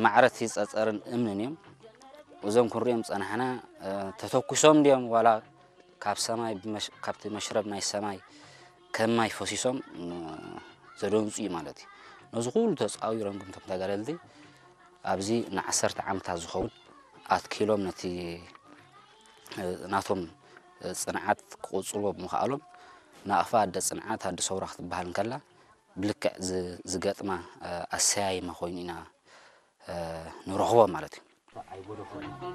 ማዕረቲ ጸጸርን እምንን እዮም። እዞም ክንሪኦም ጸናሕና ተተኩሶም ድዮም ዋላ ካብ ሰማይ ካብቲ መሽረብ ናይ ሰማይ ከም ማይ ፈሲሶም ዘደንጹ እዩ ማለት እዩ። ነዚ ኩሉ ተጻዊሮም ግን እቶም ተጋደልቲ ኣብዚ ንዓሰርተ ዓመታት ዝኸውን ኣትኪሎም ነቲ ናቶም ጽንዓት ክቕጽልዎ ብምኽኣሎም ናቕፋ ኣደ ጽንዓት ኣደ ሰውራ ክትበሃል እንከላ ብልክዕ ዝገጥማ ኣሰያይማ ኮይኑ ኢና ንረኽቦ ማለት እዩ።